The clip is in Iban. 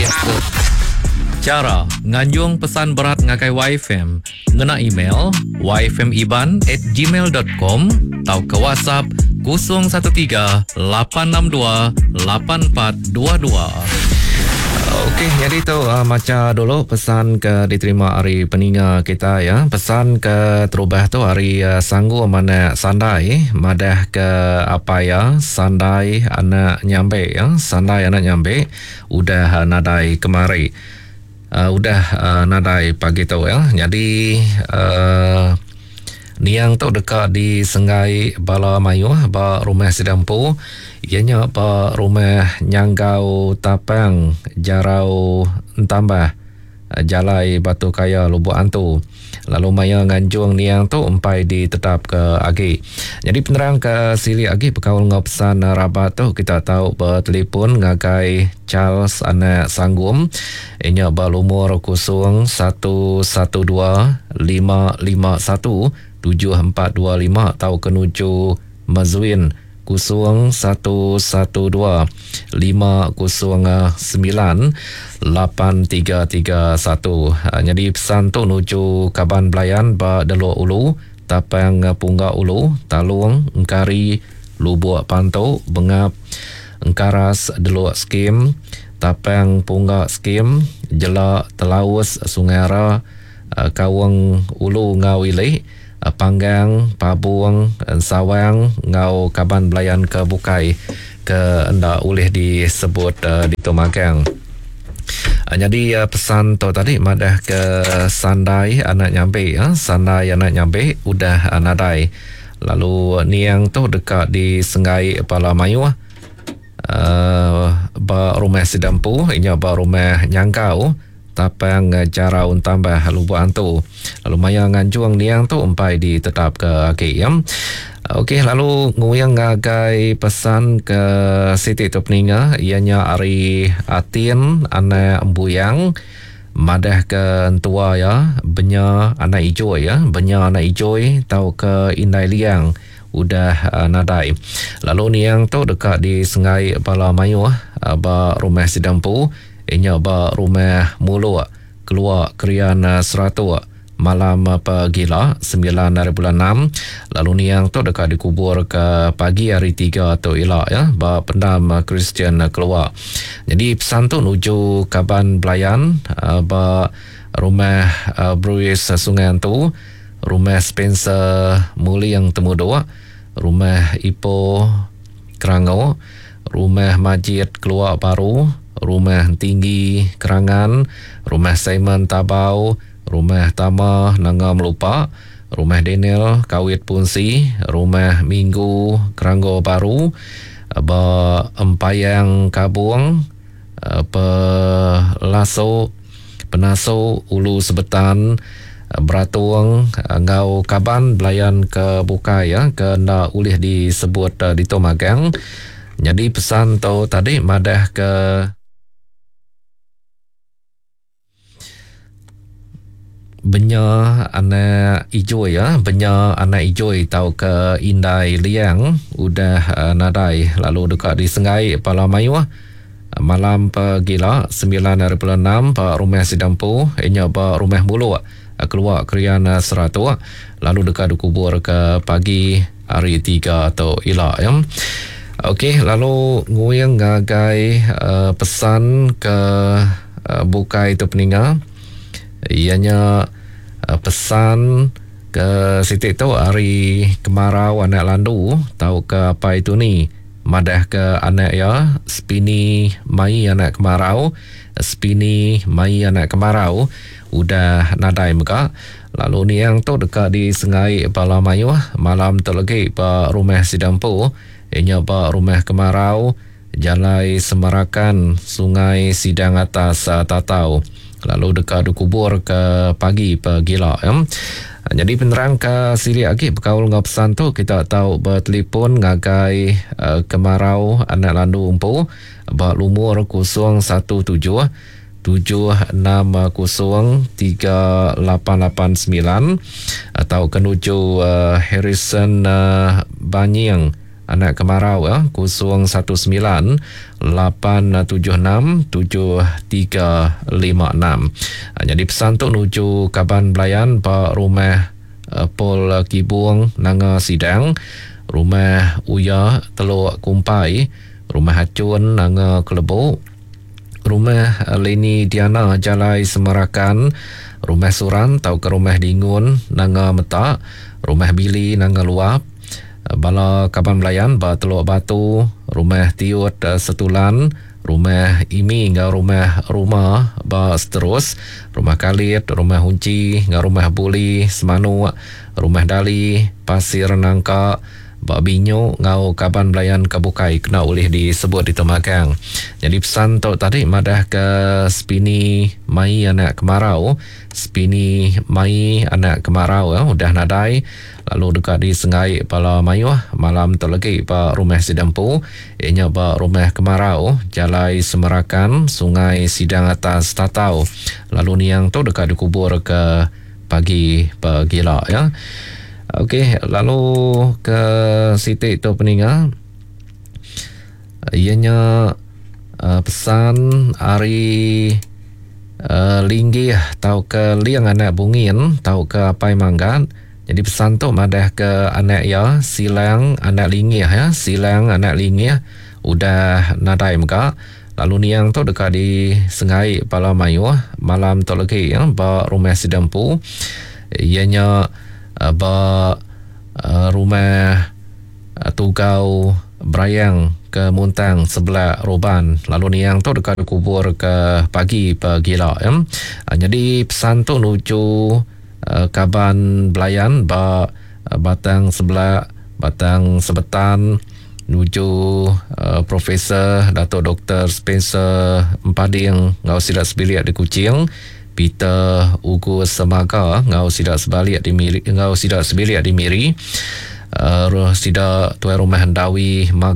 Nitihka chara nganjung pesan berat ngagai YFM ngena email yfmiban at gmail dot com tauka WhatsApp 013 862 8422. Okey, nyadi tu uh, macha dulu pesan ke diterima ari peninga kita ya. Pesan ke terubah tu ari uh, Sanggu Manak Sandai madah ke apai ya Sandai anak Nyambe ya. Sandai anak Nyambe udah uh, nadai kemari. Uh, udah uh, nadai pagi tu ya. Nyadi uh, niang tu deka disenggai bala mayuh ba rumah sida empu iya nya ba rumah Nyanggau Tapang Jarau Entambah Jalai Batu Kaya Lubok Antu lalu maya nganjung niang tu empai ditetapka agi. Nyadi penerang ke silik agi bekaul enggau pesan rabat tu kita tau betelefon ngagai Charles anak Sanggum iya nya ba lumur 011 2551 7425 tauka nuju Mezuin 0 1 1 2 5 0 9 8 3 3 1. Nyadi pesan tu nuju kaban belayan ba Delok Ulu, Tapang Pungga Ulu, Talung, Engkari, Lubok Pantu, Bengap, Engkaras, Delok Skim, Tapang Pungga Skim, Jela, Telaus, Sungai Ara, Kaung Ulu enggau Ili, Panggang, Pabong, Ensawang enggau kaban belayan ke bukai ke enda ulih disebut ditu magang. Nyadi pesan tu tadi madah ke Sandai anak Nyambi, Sandai anak Nyambi udah nadai lalu niang tu deka disenggai bala mayuh ba rumah sida empu inya ba rumah Nyanggau. Tapang Jarau Entambah Lubok Antu lalu maya nganjung niang tu empai ditetapka agi ya. Okey lalu nguing ngagai pesan ke siti tu peninga iya nya ari Atin anak Embuyang madah ke entua iya Benya anak Ijoi ya, Benya anak Ijoi tauka Indai Liang udah nadai. Lalu niang tu deka disenggai bala mayuh ba rumah sida empu. Inya ba Rumah Muluk, Kelua Krian Seratok, malam pegila, semilan hari bulan enam, lalu niang tu deka dikubur ke pagi hari tiga tu ila ya ba pendam Kristian Kelua. Nyadi pesan tu nuju kaban belayan ba Rumah Bruis Sungai Antu, Rumah Spencer Muling Temudok, Rumah Ipoh Kerango, Rumah Majid Kelua Baru, Rumah Entinggi Kerangan, Rumah Simon Tabau, Rumah Tama Nanga Melupa, Rumah Daniel Kawit Punsi, Rumah Minggu Keranggo Baru, ba Empayang Kabong, Pelaso, Penaso Ulu Sebetan, Beratung enggau kaban belayan ke bukai ke enda ulih disebut ditu magang. Nyadi pesan tu tadi madah ke Benya anak Ijoi ya, Benya anak Ijoi tauka Indai Liang udah nadai lalu deka disenggai bala mayuh Malam pegila, semilan hari bulan enam ba Rumah Sida Empu, iya nya ba Rumah Muluk, Kelua Krian Seratok lalu deka dikubur ke pagi hari Tiga tu ila. Ya. Okey, lalu nguing ngagai uh, pesan ke uh, bukai tu peninga. Iya nya uh, pesan ke siti tu ari Kemarau anak Landu tauka Apai Tuni. Madahka anak iya, Spini mai anak kemarau, Spini mai anak kemarau udah nadai mega. Lalu niang tu deka disengai bala mayuh malam tu legi ba rumah sida empu, iya nya ba Rumah Kemarau, Jalai Semarakan, Sungai Sidang Atas, Tatau. Lalu deka dikubur ke pagi pegila. Nyadi penerang ke silik agi bekaul enggau pesan tu kita tau betelefon ngagai Kemarau Anak Landu empu ba lumur 017 760 3889 tauka nuju Harrison Banying. anak kemarau ya 019 876 7356. Nyadi pesan tu nuju kaban belayan ba rumah Paul Kibung Nanga Sidang, rumah Uya Teluk Kumpai, rumah Achun Nanga Kelebu, rumah Leni Diana Jalai Semarakan, rumah Suran tauka rumah Dingun Nanga Meta, rumah Billy Nanga Luap, bala kaban belayan ba Teluk Batu, rumah Tiut Setulan, rumah Imi enggau rumah Ruma ba Seterus, rumah Kalit, rumah Unchi enggau rumah Buli Semanuk, rumah Dali, Pasir Nangka, ba Binyu enggau kaban belayan ke bukai kena ulih disebut ditu magang. Nyadi pesan tu tadi madah ke Spini mai anak kemarau, Spini mai anak kemarau eh, udah nadai lalu deka disenggai bala mayuh malam tu legi ba rumah sida empu iya nya ba Rumah Kemarau, Jalai Semerakan, Sungai Sidang Atas Tatau lalu niang tu deka dikubur ke pagi pegila ya. Okey, lalu ke siti tu peninga iya nya uh, pesan ari uh, Linggih tauka Ling anak Bungin tauka Apai Manggat. Jadi pesan tu madah ke anak iya Silang anak Lingih ya, Silang anak Lingih udah nadai mega. Lalu niang tu deka disengai bala mayuh malam tu legi ya, ba rumah sida empu iya nya eh, ba eh, rumah eh, Tugau Berayang ke Muntang sebelah Roban. Lalu niang tu deka dikubur ke pagi pegila ya. Jadi pesan tu nuju kaban belayan ba Batang Sebelah, Batang Sebetan, nuju Profesor Dato Doktor Spencer Empading enggau sida sebilik di Kuching, Peter Ugus Semaga enggau sida sebalik di Miri enggau sida sebilik di Miri, sida tuai rumah Endawi Maga.